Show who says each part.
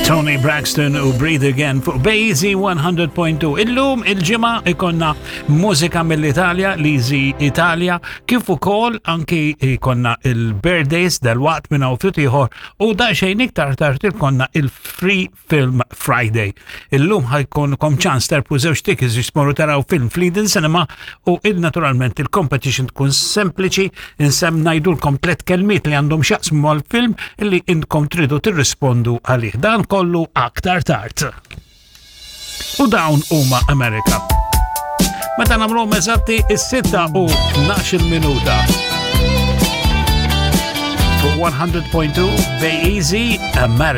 Speaker 1: Toni Braxton u Breathe Again fuq Bazy 100.2. Illum il-ġimgħa ikonna mużika mill-Italja, Lizi Italia, kif ukoll anki ikonna il-birthdays dal-waqt minn hawn ftit ieħor u daqsxejn iktar tard ikonna il-Free Film Friday. Illum ħajkunkom ċans terpu żewġ tickets biex tmorru taraw film fl-Eden Cinema u il-naturalment il-competition tkun sempliċi insem ngħidulkom tliet kelmiet li għandhom x'jaqsmu mal-film li intkom tridu tirrispondu għalih. Dan kollu aktar tard. U dawn huma Amerika. Meta nagħmluhom eżatti is-6 u 12 minuta. Fuq 100.2 Bay Easy America.